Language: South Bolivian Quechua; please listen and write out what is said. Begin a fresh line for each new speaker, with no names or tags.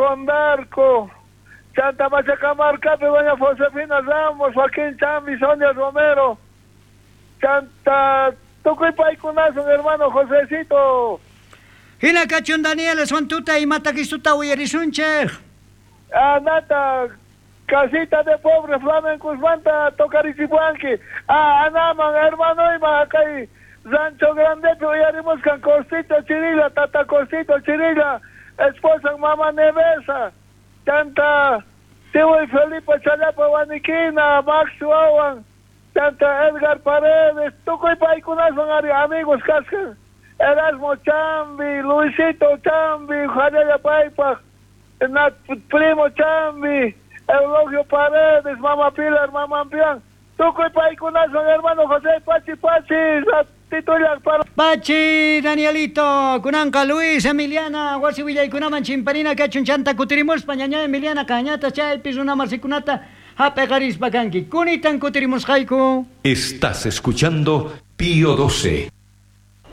Condarco, Chanta Machacamarcapi doña Josefina Ramos, Joaquín Chambi, Sonia Romero, Chanta tukuy paykunasun hermano Josecito.
Hina kachun Daniel, aswan tuta imatakisuta uyarisunchej.
Anata, casita de pobre flamencosmanta tocarichipuanki. Ah, anaman, hermanoyman, kay Rancho Grandepi uyarimuskan Costito Chirilla, Tata Costito Chirilla, esposa Mama Nevesa, Chanta Tiwi Felipe Challapa Waniquina, Max Wawan, Chanta Edgar Paredes, tukuy paykunawan ari amigos kaskan. Erasmo Chambi, Luisito Chambi, Jalaya Paypaj, Nat Primo Chambi, Eulogio Paredes, Mama Pilar, Mama Ampián, tukuy paykunawan hermano José Pachi Pachi, titular para
Pachi, Danielito, kunanqa Luis, Emiliana, wasi willaykunaman chimparina kachun chanta kutirimuspa ñaña Emiliana cañata chaypi runa masikunata hap'eqarispa kanki. Kunitan kutirimusqayku.
Estás escuchando Pío 12.